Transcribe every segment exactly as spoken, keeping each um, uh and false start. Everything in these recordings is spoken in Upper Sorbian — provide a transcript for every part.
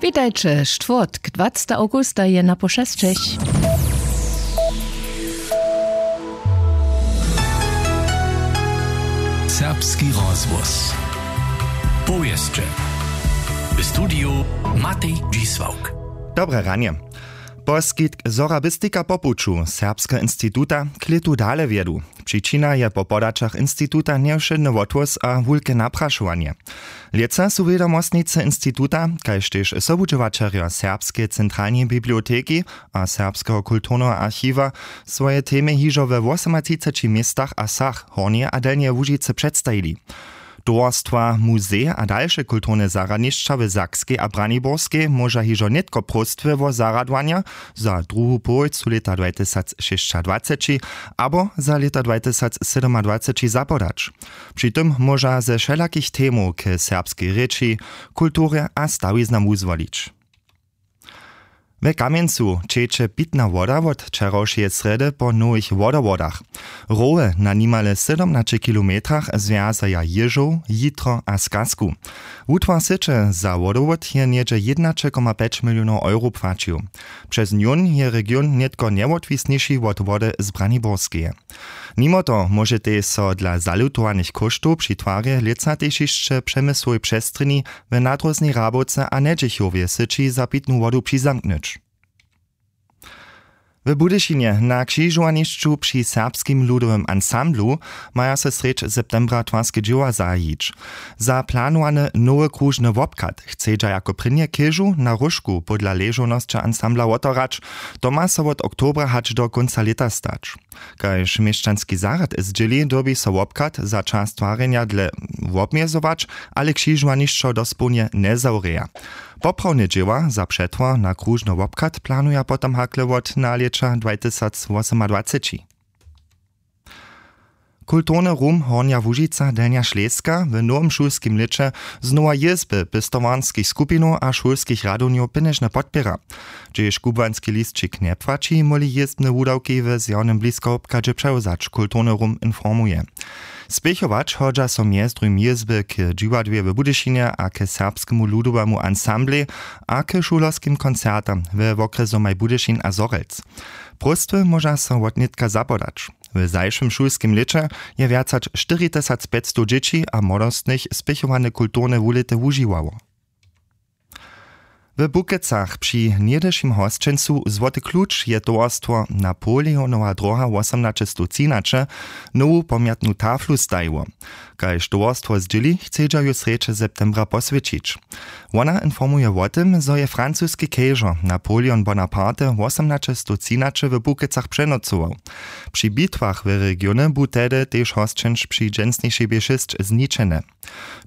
Witajće. Štwórtk, dwacetego awgusta je na pošesćich. Serbski rozhłos. Powěsće. W studiju Matej Dźisławk. Dobre ranje. Poskitk sorabistika po puću serbskeho instituta k lětu dale wjedu. Přičina je po podaćach instituta njewšědny wothłós a wulke naprašowanje. Lětsa su wědomostnicy instituta, kaž tež sobudźěłaćerjo serbskeje centralneje biblioteki a serbskeho kulturneho archiwa, swoje temy hižo we wosomatřiceći městach a wsach Hornjeje a Delnjeje Łužicy předstajili. Towarstwa, muzej a dalše kulturne zarjadnišća w Sakskej a Braniborskej móža hižo nětko próstwy wo zarjadowanja za druhu połojcu lěta dwajtysacšěsćadwaceći abo za lěta dwajtysacsydomadwaceći zapodać. Při tym móža ze wšelakich temow k serbskej rěči, kulturje a stawiznam wuzwolić. We Kamjencu ćeče pitna woda wot wčerawšeje srjedy po nowych wodowodach. Rowy na nimale sydomnaće kilometrach zwjazaja Jěžow, Jitro a Skazku. Wutwar syće za wodowod je něhdźe jědnaće koma pjeć milionow euro płaćił. Přez njón je region nětko njewotwisniši wot wody z Braniborskeje. Nimo toho móžetej so dla zalutowanych kóštow při twarje lětsa tež hišće w Přemysłowej přestrjeni, w Nadróznej Hrabowce a Njedźichowje syći za pitnu wodu přizamknyć. W Budyšinje na křižowanišću při Serbskim ludowym ansamblu maja so srjedź septembra twarske dźěła zahajić. Za planowane nowy króžny wobchad chcedźa jako prěnje chěžu na róžku podla ležownosće ansambla wotohrać. To ma so wot oktobra hač do kónca lěta stać. Kaž měšćanski zarjad zdźěli, dyrbi so wobchad za čas twarjenja dlě wobmjezować, ale křižowanišćo dospołnje njezawrěja. Poprawne dźěła za přetwar na króžny wobchad planuja potom hakle wot nalěća dwajtysacwosomadwaceći. Kulturny rum Hornja Łužica, Delnja Šleska w nowym šulskim lěće znowa jězby pěstowarskich skupinow a šulskich radownjow pjenježnje podpěra. Hdźež kubłanski lisćik njepłaći, móhli jězbne wudawki w zjawnym bliskowobchadźe přewzać, kulturny rum informuje. Spěchować hodźa so mjez druhim jězby k dźiwadłej w Budyšinje a k serbskemu ludowemu ansamblej a k šulerskim koncertam we wokrjesomaj Budyšin a Zhorjelc. Próstwy móža so wotnětka zapodać. W zašłym šulskim lěće je wjac hač štyritysacpjećstow dźěći a młodostnych spěchowane kulturne wulěty wužiwało. W Bukecach při něhdyšim hosćencu Złoty kluč je towarstwo Napoleonowa dróha wosomnaćestowtřinaće nowu pomjatnu taflu stajiło. Kaž towarstwo zdźěli, chcedźa ju srjedź septembra poswjećić. Wona informuje wo tym, zo je francuski kejžor Napoleon Bonaparte wosomnaćestowtřinaće w Bukecach přenocował. Při bitwach w regionje bu tehdy tež hosćenč při dźensnišej B šěsć zničene.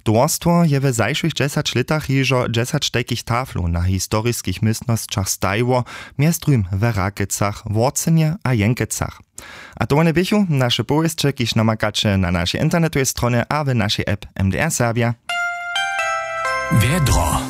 Towarstwo je w zašłych dźesać lětach hižo dźesać tajkich taflow na historiskich městnosćach stajiło, mjez druhim w Rakecach, Worcenje a Jenkecach. A to wone běchu naše powěsće, kiž namakaće na našej internetowej stronje a w našej app M D R Serbja. Wjedro.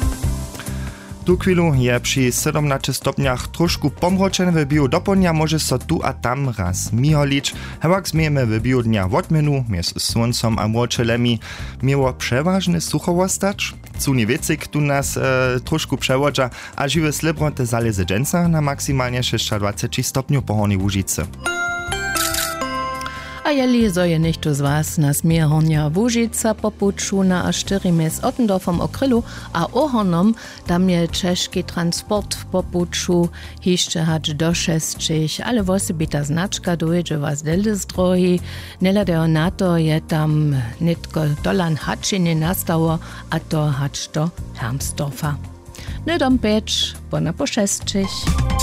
Tuchwilu je při sydomnaće stopnjach tróšku pomročene, w běhu dopołdnja móže so tu a tam raz miholić. Hewak změjemy w běhu dnja wotměnu mjez słóncom a młočelemi. Měło přewažnje sucho wostać. Słowni wětřik tu nas e, tróšku přewodźa a žiwe slěbroty zalěze dźensa na maksimalnje šěsćadwaceći stopnjow po Hornjej Łužicy. A jeli zo je něchtó z was na směr Hornja Łužica po puću na A štyri mjez Ottendorfom a Krylu a Ohornom, tam je ćežki transport po puću hišće hač do šesćich, ale wosebita značka dóńdźe was dele z dróhi. Njehladajomna to je tam nětko tola hačenje nastało, a to hač do Hermsdorfa. Hnydom pjeć, pona po šesćich.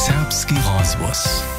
Serbski rozhłos.